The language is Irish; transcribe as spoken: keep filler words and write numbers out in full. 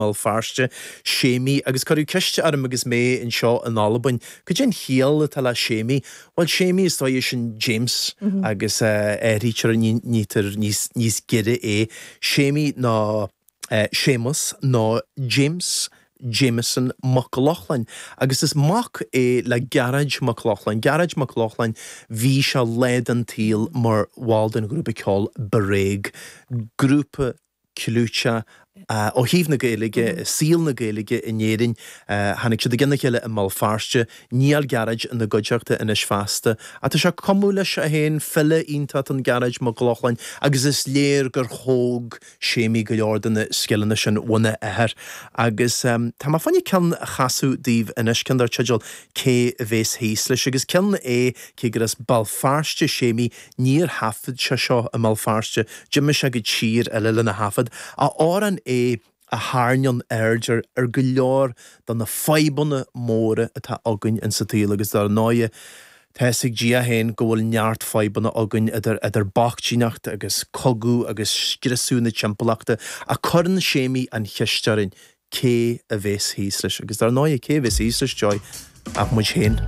mBéal Feirste, Séimí, agus cuireadh ceist orm agus mé anseo in Albain, cad é an chiall atá le Séimí? Bhuel Séimí is dóigh sin James agus athraítear nítear níos níos giorra é. Séimí ná Séamus nó James Jameson Mac Lochlainn agus is mac é le Gearóid Mac Lochlainn. Gearóid Mac Lochlainn bhí sé lá den tsaol mar bhall den ghrúpa ceoil Bréag, grúpa clúiteach ó thaobh na Gaeilge, saol na Gaeilge in Éirinn. Tháinig siad i gcionn a chéile i mBéal Feirste, níl Gearóid ina gcuideachta anois feasta. Ach tá sé cumadh leis é féin, file iontach an Gearóid Mac Lochlainn agus is léir gur thóg Séimí go leor de na scileanna sin óna athair. Agus tá mé fá choinne ceann a chasadh daoibh anois, ceann dar teideal Cé a bhéas thíos leis agus ceann é cé gur as Béal Feirste Séimí níor thaifead sé seo i mBéal Feirste, d'imigh sé go tír eile lena thaifead. Amhrán é a tharraingíonn aird ar ar go leor de na fadhbanna móra atá againn insa tsaol agus dar ndóigh tá a fhios ag Dia féin go bhfuil neart fadhbanna againn idir idir bochtaineacht agus cogadh agus scriosadh na timpeallachta ach cuireann Séimí an cheist orainn cé a bhéas thíos leis agus dar ndóigh cé a bhéas thíos leis Joy ach muid féin.